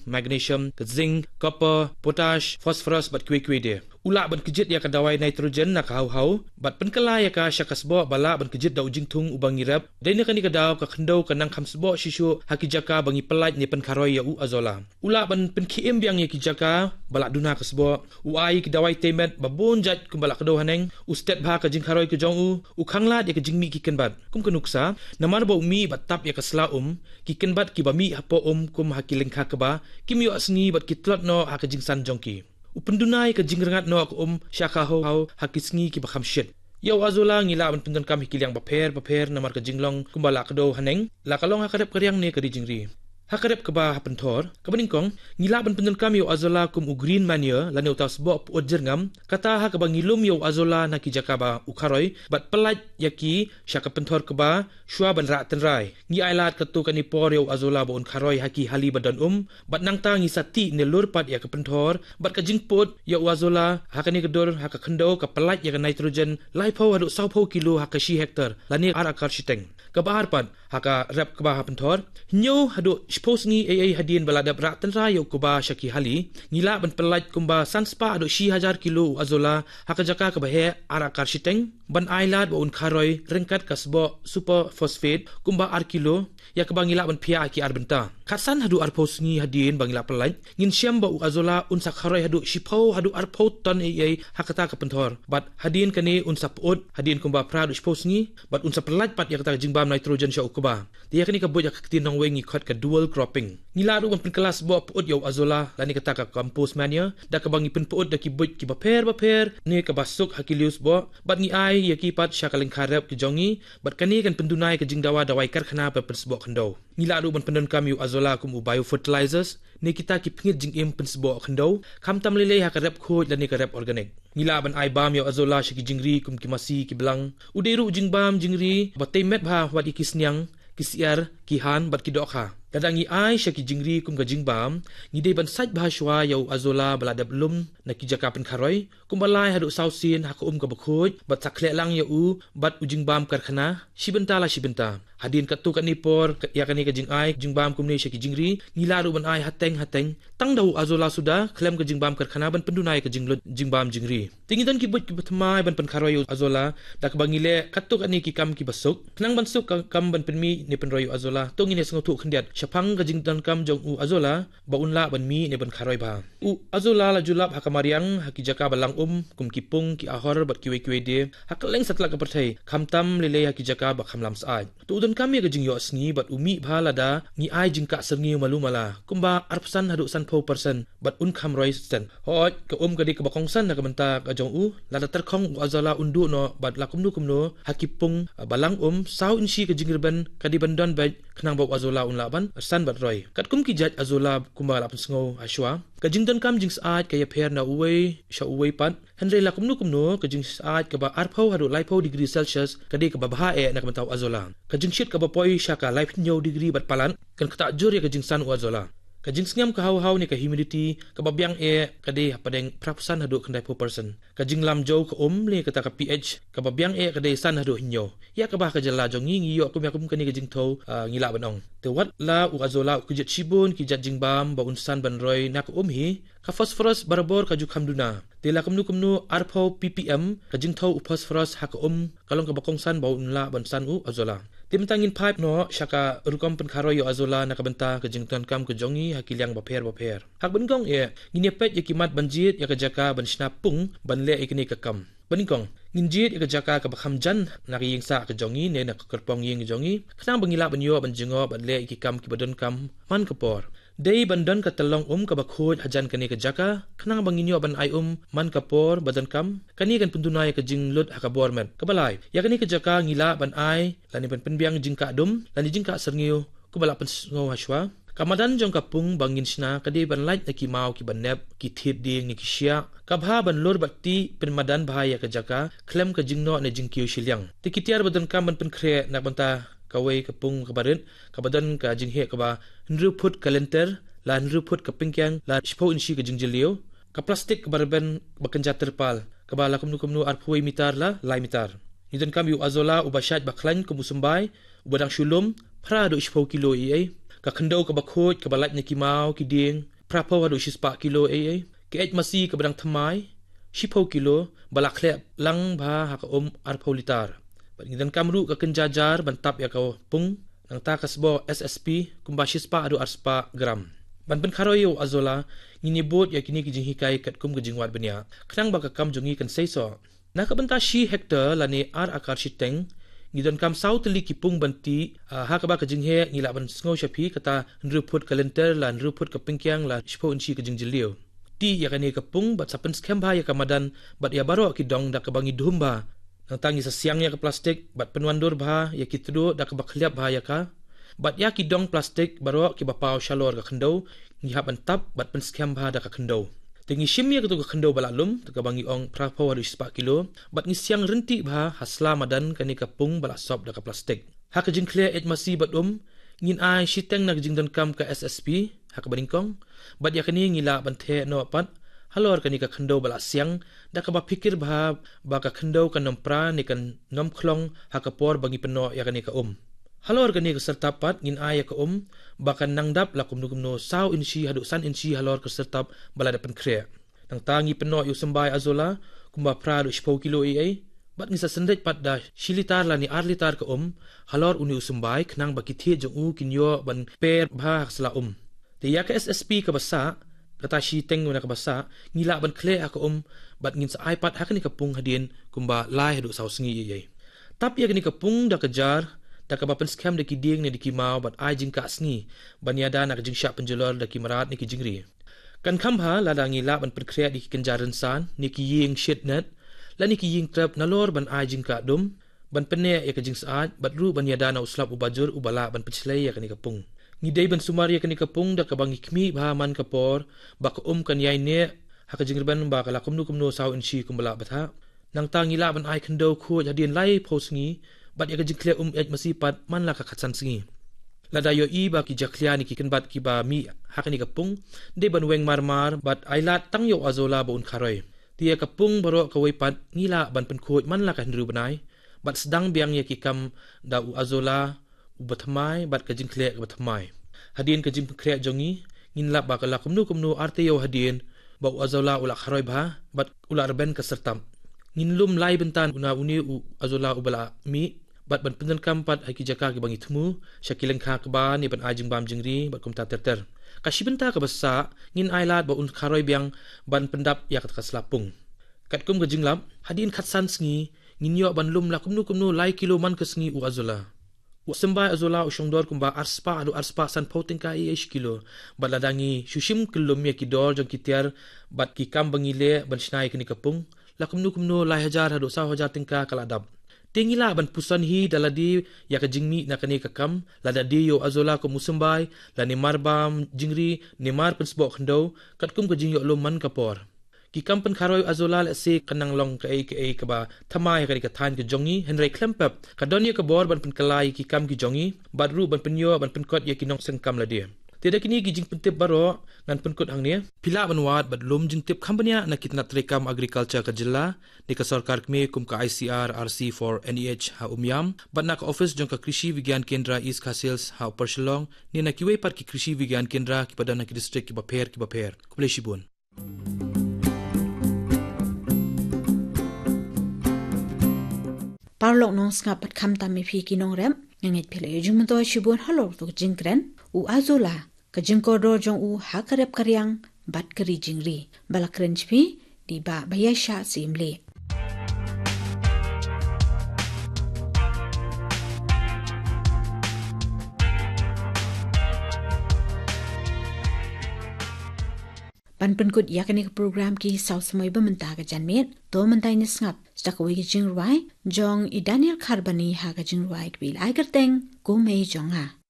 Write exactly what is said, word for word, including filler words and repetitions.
magnesium, ka zinc, copper, potash, phosphorus bad kiwei kiwei de. U lah ban kjit ïa ka dawai nitrogen na ka haw haw bad pynkylla ïa ka sha ka sboh ba lah ban kjit da u jingthung uba ngi rep. Dei na kane ka daw ka khyndew ka nang kham sboh shisha ha ki jaka ba ngi pyllait ne pynkharoi ïa u azolla. U lah ban pynkhie im biang ïa ki jaka ba lah duna ka sboh. U ai ki dawai tei met ba bun jait kumba lah kdew haneng. U stet bha ka jingkharoi ka jong u. U khanglad ïa ka jingmih ki kynbat. Kum ka nuksa, namar ba u mih bad tap ïa ka sla um, ki kynbat kiba mih hapoh um kum ha ki lyngkha kba kim ïoh sngi bad ki tlot noh ha ka jingsan jong ki. U pynduna ïa ka jingrngat noh ka um sha ka haw haw ha ki sngi kiba kham shit. Ïa u azolla ngi lah ban pyndonkam ha ki liang bapher bapher namar ka jinglong kumba lah kdew haneng, la ka long ha ka rep ka riang ne ka ri jingri. Ha ka rep kaba ha pynthor, kaba nyngkong, ngi lah ban pyndonkam ïa u azolla kum u green manure lane uta u sboh pyut jyrngam, kata ha kaba ngi lum ïa u azolla na ki jaka ba u kharoi bad pyllait ïa ki sha ka pynthor kba shuwa ban rah tynrai. Ngi ailad katto katne por ïa u azolla ba un kharoi ha ki hali ba don um bad nangta ngi sa tih ne lur pat ïa ka pynthor bad ka jingpyut ïa u azolla ha kane ka dur ha ka khyndew ka pyllait ïa ka nitrogen laiphew haduh sawphew kilo ha ka shi hektar lane ar akar shiteng. Kaba ar pat, ha ka rep kba ha pynthor, hynñiew haduh shiphew sngi ei ei hadien ba la dep rah tynrai ïa u kba sha ki hali, ngi lah ban pyllait kumba san spah haduh shi hajar kilo u azolla ha ka jaka kaba heh ar akar shiteng ban ailad ba un kharoi ryngkat ka sboh super phosphate kumba ar kilo, ïa kaba ngi lah ban phiah ha ki ar bynta. Khatsan haduh arphew sngi hadien ba ngi lah pyllait, ngin shem ba u azolla un sa kharoi haduh shiphew haduh arphew ton ei ei ha kata ka pynthor. Bad hadien kane un sa pyut hadien kumba phra haduh shiphew sngi bad un sa pyllait pat ïa kata ka jingbam nitrogen sha u kba. Te ïa kane ka buit ha ka ktien nongwei ngi khot ka dual cropping. Ngi lah ruh ban pynkylla sboh pyut ïa u azolla lane kata ka compost manure da kaba ngi pynpyut da ki buit kiba pher bapher ne kaba suk ha ki liew sboh bad ngi ai ïa ki pat sha ka lyngkha rep ka jong ngi bad kane kan pynduna ïa ka jingdawa dawai karkhana ba pynsboh khyndew. Ngi lah ruh ban pyndonkam ïa u azolla kum u biofertilizers ne kita ki pngit jingim pynsboh khyndew, khamtam lei lei ha ka rep khuid lane ka rep organic. Ngi lah ban ai bam ïa u azolla sha ki jingri kum ki masi ki blang. U dei ruh u jingbam jingri ba tei met bha wat ïa ki sniang, ki syiar, ki han bad ki dohkha. Lada ngi ai sha ki jingri kum ka jingbam, ngi dei ban sait bha shuwa ïa u azolla ba la dep lum na ki jaka pynkharoi kumba lai haduh saw sien ha ka um kaba khuid bad sa khleh lang ïa u bad u jingbam karkhana shi bynta la shi bynta. Hadien katto katne por ïa kane ka jingai jingbam kumne sha ki jingri, ngi lah ruh ban ai hateng hateng tang da u azolla suda khlem ka jingbam karkhana ban pynduna ïa ka jinglut jingbam jingri. Te ngi don ki buit kiba thymmai ban pynkharoi ïa u azolla da kaba ngi leh katto katne ki kam kiba suk. Khnang ban suk ka kam ban pynmih ne pynroi ïa u azolla, to ngin ïa sngewthuh khyndiat shaphang ka jingdonkam jong u azolla ba un lah ban mih ne ban kharoi bha. U azolla la ju lap ha ka mariang ha ki jaka ba lang um kum ki pung, ki ahor bad kiwei kiwei de ha kylleng satlak ka pyrthei, khamtam lei lei ha ki jaka ba kham lam syaid. To u donkam ïa ka jingïoh sngi bad u mih bha lada ngi ai jingkah syrngiew malu mala kumba arphew san haduh sanphew percent bad un kham roi stet. Hooid, ka um ka dei kaba kongsan na ka bynta ka jong u, lada tyrkhong u azolla un duh noh bad la kumno kumno ha ki pung ba lang um saw inshi ka jingrben ka dei ban don beit khnang ba u azolla un lah ban san bad roi. Katkum ki jait azolla kumba la pynsngew ha shuwa, ka jingdonkam jingsyaid ka ïapher na uwei sha uwei pat. Hynrei la kumno kumno ka jingsyaid kaba arphew haduh laiphew degree Celsius ka dei kaba bha eh na ka bynta u azolla. Ka jingshit kaba poi sha ka laiphew degree bad palat kan ktah jur ïa ka jingsan u azolla. Ka jingsngem ka haw haw ne ka humidity kaba biang eh ka dei hapdeng phra phew san haduh khyndaiphew percent. Ka jinglam jew ka um ne kata ka pH kaba biang eh ka dei san haduh hynñiew. Ïa kaba ha ka jylla jong ngi ngi ïoh kum ïa kum kane ka jingthew, ah, ngi lah ban ong. Te wat la u azolla u kjit shibun ki jait jingbam ba un san ban roi na ka um hi, ka phosphorus barabor ka ju kham duna. Te la kumno kumno arphew ppm ka jingthew u phosphorus ha ka um ka long kaba kongsan ba un lah ban san u azolla. Te mynta ngin phai noh sha ka rukom pynkharoi ïa u azolla na ka bynta ka jingdonkam ka jong ngi ha ki liang bapher bapher. Ha kaba nyngkong eh, ngin ïa peit ïa ki mat ban jied ïa ka jaka ban shna pung ban leh ïa kane ka kam. Ba nyngkong, ngin jied ïa ka jaka kaba kham jan na ka ïing sah ka jong ngi ne na ka kyrpong ïing ka jong ngi khnang ba ngi lah ban ïoh ban jngoh bad leh ïa ki kam kiba donkam man ka por. Dei ban don ka tyllong um kaba khuid hajan kane ka jaka khnang ba ngin ïoh ban ai um man ka por ba donkam. Kane kan pynduna ïa ka jinglut ha ka bor met. Kaba lai, ïa kane ka jaka ngi lah ban ai lane ban pynbiang jingkah dum lane jingkah syrngiew kumba la pynsngew ha shuwa. Ka madan jong ka pung ba ngin shna ka dei ban lait na ki maw kiba nep, ki thied dieng ne ki shiah. Ka bha ban lur bad tih pynmadan bha ïa ka jaka khlem ka jingnoh ne jingkiew shiliang. Te ki tiar ba donkam ban pynkhreh na ka bynta kawei ka pung kaba rit kaba don ka jingheh kaba hynriew phut ka lynter, la hynriew phut ka pyngkiang, la shiphew inshi ka jingjylliew. Ka plastik kaba rben ba kynja tirpal kaba la kumno kumno arphew mitar la lai mitar. Ngi donkam ïa u azolla uba shait ba khlaiñ kum u symbai, uba dang shu lum, phra haduh shiphew kilo ei ei. Ka khyndew kaba khuid kaba lait na ki maw ki dieng, phra phew haduh shispah kilo ei ei. Ka eit masi kaba dang thymmai, shiphew kilo, ba la khleh lang bha ha ka um arphew litar. Bad ngi donkam ruh ka kynja jar ban tap ïa ka pung, nangta ka sboh S S P, kumba shispah haduh arspah gram. Ban pynkharoi ïa u Azolla, ngin ïa bud ïa kine ki jinghikai katkum ka jingwad bniah, khnang ba ka kam jong ngi kan seisoh. Na ka bynta shi hektar lane ar akar shiteng, ngi donkam saw tylli ki pung ban tih, ah, ha kaba ka jingheh ngi lah ban sngew sha phi kata hynriew phut ka lynter la hynriew phut ka pyngkiang la shiphew inshi ka jingjylliew. Tih ïa kane ka pung bad sa pynskhem bha ïa ka madan bad ïa baroh ki dong da kaba ngi dhum bha. Nangta ngi sa siang ïa ka plastik bad pynwandur bha ïa ki tduh da kaba khylliap bha ïa ka. Bad ïa ki dong plastik baroh kiba paw shalor ka khyndew, ngi hap ban tap bad pynskhem bha da ka khyndew. Te ngi shim ïa katu ka khyndew ba la lum, te kaba ngi ong phra phew haduh shispah kilo, bad ngi siang ryntih bha ha sla madan kane ka pung ba la sop da ka plastik. Ha ka jingkhleh eit masi bad um, ngin ai shiteng na ka jingdonkam ka S S P, ha kaba nyngkong, bad ïa kane ngi lah ban theh noh pat halor kane ka khyndew ba la siang, da kaba phikir bha ba ka khyndew kan ym pra ne kan ym khlong ha ka por ba ngi pynnoh ïa kane ka um. Halor kane ka syrtap pat ngin ai ïa ka um ba kan nang dap la kumno kumno saw inshi haduh san inshi halor ka syrtap ba la dep pynkhreh. Nangta ngi pynnoh ïa u symbai Azolla kumba phra haduh shiphew kilo ei ei, bad ngi sa synreit pat da shi litar lane ar litar ka um halor une u symbai khnang ba ki thied jong u kin ïoh ban per bha ha ka sla um. Te ïa ka S S P kaba sah, kata shiteng na kaba sah, ngi lah ban khleh ha ka um, bad ngin sa ai pat ha kane ka pung hadien kumba lai haduh saw sngi ei ei. Tap ïa kane ka pung da ka jar, da kaba pynskhem da ki dieng ne da ki maw bad ai jingkah sngi ban ïada na ka jingshah pynjulor da ki mrad ne ki jingri. Kan kham bha lada ngi lah ban pynkhreh da ki kynja rynsan ne ki ïing shit net, lane ki ïing trep nalor ban ai jingkah dum, ban pynneh ïa ka jingsyaid bad ruh ban ïada na u slap uba jur uba lah ban pynshlei ïa kane ka pung. Ngi dei ban sumar ïa kane ka pung da kaba ngi khmih bha man ka por ba ka um kan ïai neh ha ka jingrben ba ka la kumno kumno saw inshi kumba lah bthah. Nangta ngi lah ban ai khyndew khuid hadien lai phew sngi, bad ïa ka jingkhleh um eit masi pat man la ka khatsan sngi. Lada ïohi ba ki jakhlia ne ki kynbat kiba mih ha kane ka pung, dei ban weng marmar bad ai lad tang ïa u Azolla ba un kharoi. Te ïa ka pung baroh kawei pat ngi lah ban pynkhuid man la ka hynriew bnai, bad sdang biang ïa ki kam da u Azolla uba thymmai bad ka jingkhleh kaba thymmai. Hadien ka jingpynkhreh jong ngi, ngin lap ba ka la kumno kumno ar taïew hadien ba u Azolla u la kharoi bha bad u la rben ka syrtap. Ngin lum lai bynta na une u Azolla uba la mih, bad ban pyndonkam pat ha ki jaka kiba ngi thmu, sha ki lyngkha kba ne ban ai jingbam jingri bad kumta ter ter. Ka shi bynta kaba sah, ngin ai lad ba un kharoi biang ban pyndap ïa kata ka sla pung. Katkum ka jinglap, hadien khatsan sngi, ngin ïoh ban lum la kumno kumno lai kilo man ka sngi u Azolla. U symbai Azolla u shongdor kumba arspah haduh arspah sanphew tyngka ei ei shi kilo. Bad lada ngi shu shim kyllum ïa ki dor jong ki tiar bad ki kam ba ngi leh ban shna ïa kane ka pung, la kumno kumno lai hajar haduh saw hajar tyngka ka la dap. Te ngi lah ban puson hi da lade ïa ka jingmih na kane ka kam, lada dei ïa u Azolla kum u symbai, lane mar bam jingri, ne mar pynsboh khyndew, katkum ka jingïoh lum man ka por. Ki kam pynkharoi u Azolla lehse kan nang long kaei kaei kaba thymmai ha kane ka thaiñ ka jong ngi, hynrei khlem pep ka don ïa ka bor ban pynkylla ïa ki kam ki jong ngi, bad ruh ban pynïoh ban pynkot ïa ki nongseng kam lade. Te da kine ki jingpyntip baroh ngan pynkut hangne. Phi lah ban wad bad lum jingtip kham bniah na ki tnat treikam agriculture ka jylla, ne ka sorkar kmie kum ka I C R R C for N E H ha Umiam, bad na ka office jong ka Krishi Vigyan Kendra East Khasi Hills ha Upper Shillong, ne na kiwei pat ki Krishi Vigyan Kendra kiba don ha ki district kiba pher kiba pher. Khublei shibun. Paralok nongsngap bad khamtam ïa phi ki nongrep, nga ngeit phi la ïoh jingmyntoi shibun halor katu ka jingkren, u Azolla, ka jingkordor jong u ha ka rep ka riang bad ka ri jingri. Ba la kren sha phi, dei bah Baïashah Syiemlieh. Ban pynkut ïa kane ka program ki saw samoi ba mynta ka janmiet, to mynta ngin sngap sa kawei ka jingrwai jong i Daniel Kharbani ha ka jingrwai kaba la ai kyrteng Kumei Jong Nga.